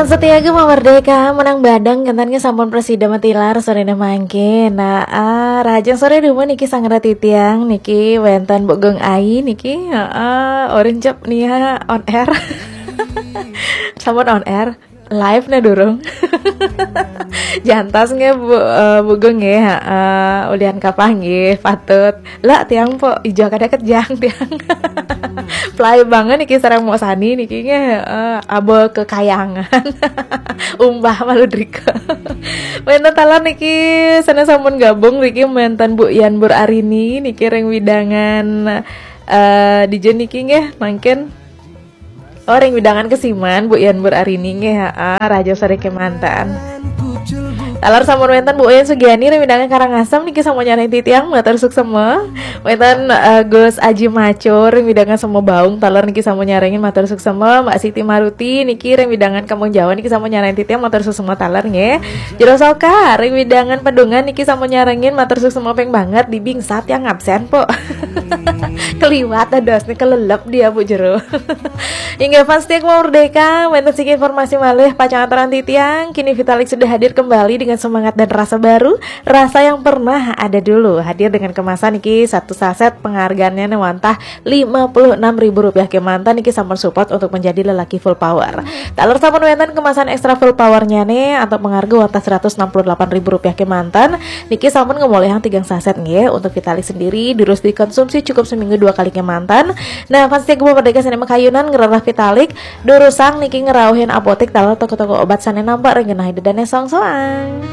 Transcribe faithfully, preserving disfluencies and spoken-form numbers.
Setia Gema Merdeka menang badang, kentan sampun presida matilar sorene mangke. Nah, ah, rahajeng sore dumun niki sareng titiang niki wenten Bu Gung Ai niki, heeh, orin cep nia on air. Sampun on air, live ne durung. Jantos nggih Bu, eh, Bu Gung nggih, heeh, ulian kapah nggih patut. Lah tiang po ijo kada kejang tiang. Play banget niki sareng Mok Sani niki nggih, heeh, abo kekayangan. Umbah malu drika. Wenten taler niki sané sampun gabung niki wenten Bu Yan Bur Arini niki ring widangan, eh, dija niki nggih mangkin. Oh, ring widangan Kesiman Bu Yan Bur Arini nggih, heeh, rahajeng sore kemanten. Taler sampun wenten Bu Uyan Sugiani ring widangan Karangasem niki sampun nyarengin titiang, matur suksema. Wenten, eh, Gus Aji Macur ring widangan Sema Baung, taler niki sampun nyarengin, matur suksema. Mbak Siti Maruti niki ring widangan Kampung Jawa niki sampun nyarengin titiang, matur suksema taler nggih. Jero Soka ring widangan Pedungan niki sampun nyarengin, matur suksema ping banget. Di Bingsa tiang absen po. Keliwat dados nih, kelelep dia Bu Jero. Inggih, fans setia Gema Merdeka, wenten siki informasi malih pacang aturang titiang. Kini Vitalik sudah hadir kembali dengan semangat dan rasa baru, rasa yang pernah ada dulu. Hadir dengan kemasan niki satu saset, penghargaannya nih wantah lima puluh enam ribu rupiah kemanten niki sampun support untuk menjadi lelaki full power. Taler sampun wenten kemasan ekstra full powernya nih atau pengharga wantah seratus enam puluh delapan ribu rupiah kemanten niki sampun ngemolihang tigang saset nggih. Untuk Vitalik sendiri durus dikonsumsi, cukup seminggu dua kali kemanten. Nah, fans setia Gema Merdeka sané makayunan ngrereh Vitalik, durusang niki ngrauhin apotik taler toko-toko obat sané nampek ring genah ida dané soang-soang.